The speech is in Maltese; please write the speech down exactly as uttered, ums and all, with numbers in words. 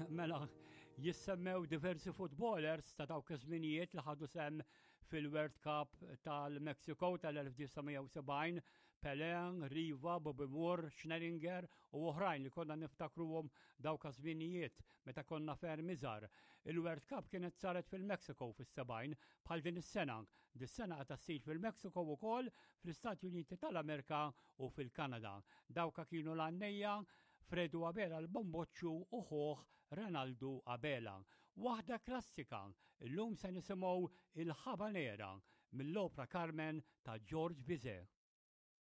Mela, jissemmew diversi footballers ta' dawk iż-żminijiet li ħadu sehem fil-World Cup tal-Mexico tal-elf disa' mija u sebgħin, Pelé, Riva, Bobby Moore, Schnellinger u oħrajn li konna niftakruhom dawk iż-żminijiet meta konna ferm iżgħar. Il-World Cup kienet saret fil-Mexico fis-sebgħin bħal din is-sena. Dis-sena qed ssir fil-Mexico ukoll, fl-Istati Uniti tal-Amerika u fil-Kanada. Dawka kienu l-għannejja Fredu Abela l-Bomboċċu u ħuh Renaldu Abela. Waħda klassika, illum se nisimgħu il-Habanera mill-opra Carmen ta' George Bizet.